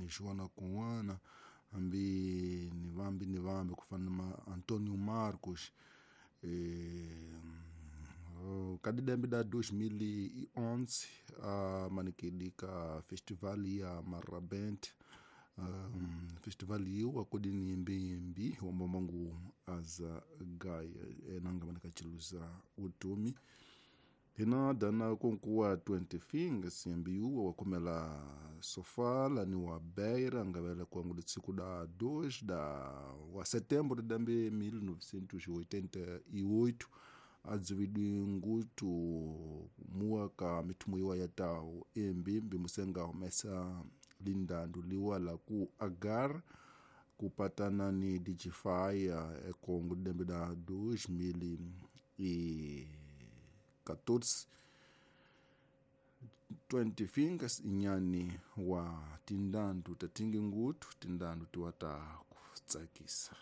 Joana Kun'wana hambi ni vambi ni vambi ku fana na ma Antonio Marcos kadidembe da 2011 amanikidi ka festival ya Marrabenta festival yiwa kodi ni mbimbi wambamangu aza gaya enanga manakachiluza utumi hina dana konkuwa 20 fingers yambiuwa wakomela Sofala ni wa Beira ngavela kwangu litsiku da 2 da wa setembro de dambe 1988 adzividwi ngutu muwa ka mithumu iwa ya tau embimbi musenga humesa lindandu liwa la ku agar kupatana ni Digify ekongo dembe da 2014 20 fingers inyani wa tindandu tatingi ngutu tindandu tiwa ta kutsakisa.